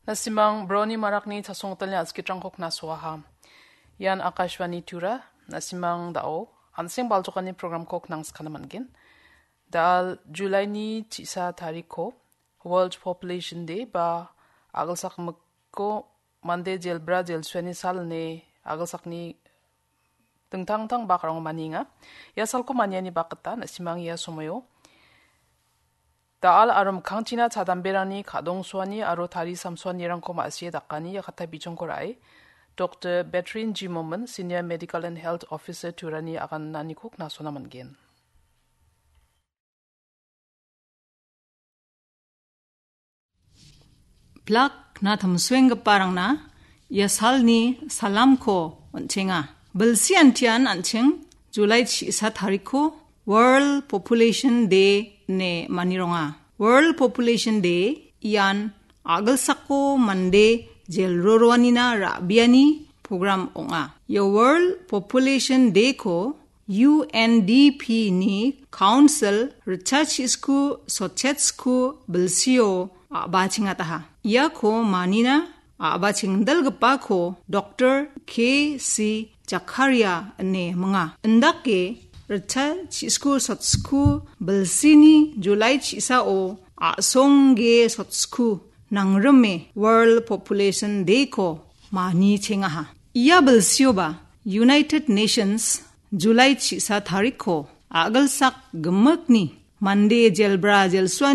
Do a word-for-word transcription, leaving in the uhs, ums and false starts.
Nasimang broni marakni chasongtalni askitrangko knasoaha. Ian Akashvani Tura, nasimang dao, anseng baljokani programko knangskana man·gen. Dal Julaini chisa tariko, World Population Day ba agilsakmikko mande jelbra jelsuani sal ine agilsakni dingtang-dingtang bakrang manienga. Ia salko maniani bakgita nasimang ia somoio dal aro mikkangchina chadamberangni kadongsoani aro tari samsoanirangko ma·sie dakani ia kata bichongko ra·e, Doktor Betrin G Momin, Senior Medical and Health Officer Turani agananiko knasona man·gen. Plak na tamsuenggiparangna ia salni salamko on·chenga. Bilsi antian an·ching Julai chisa tariko World Population Day ine manironga. World Population Day ian agilsako mande jelroroanina ra·biani program ong·a. Ia World Population Day-ko U N D P ni Council ritchasku sotchetsku bilsio a·bachengataha. Iako manina a·bachengdalgipako Doktor K C Jakaria ine minga. Indake ritchasku sotchku bilsini Julai chisao a·songge sotchku nangrime World Population Day-ko manichengaha. Ia bilsioba United Nations Julai chisa tariko agilsak gimikni mande jelbra jelsuan